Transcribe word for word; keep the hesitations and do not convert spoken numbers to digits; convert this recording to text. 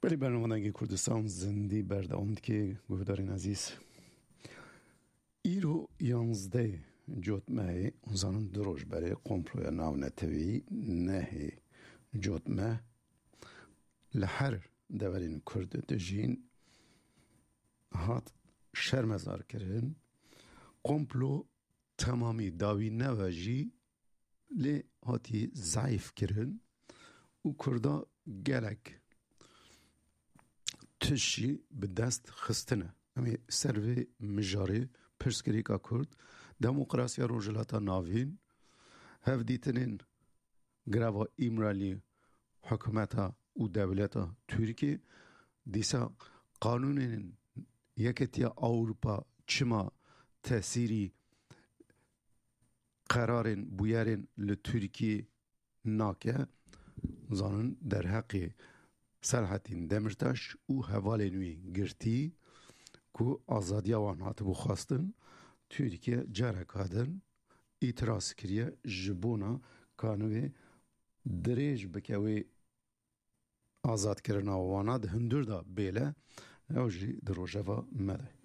Belê, bernama Dengê Kurdistan zindî berdewam dike, guhdarên ezîz. Îro yanzdeh Cotmehê, zanin du roj berê komploya navnetewî nehê Cotmeh li her deverên Kurd dijîn hat şermezar kirin. Komplo temamî dawî neve jî lê hatî zeîf kirin û Kurda gelek tişt jî bi dest xistine. Em ê ser vê mijarê pirsgirêka Kurd, demokrasiya Rojhilata Navîn, hevdîtinên greva Îmralî, hikûmeta û dewleta Tirkiyê, dîsa qanûnên Yeketiya Ewropa çima tesîrî qerarên bûyerên li Tirkiyê nake, zanin derheqê Selahattin Demirtaş û hevalên wî girtî ku azadiya wan hatibû xwestin, Tirkiye careka din îtiraz kiriye ji bona kanûnê dirêj bike wê azadkirina wana di hundir de bêle, ew jî di rojeva me de.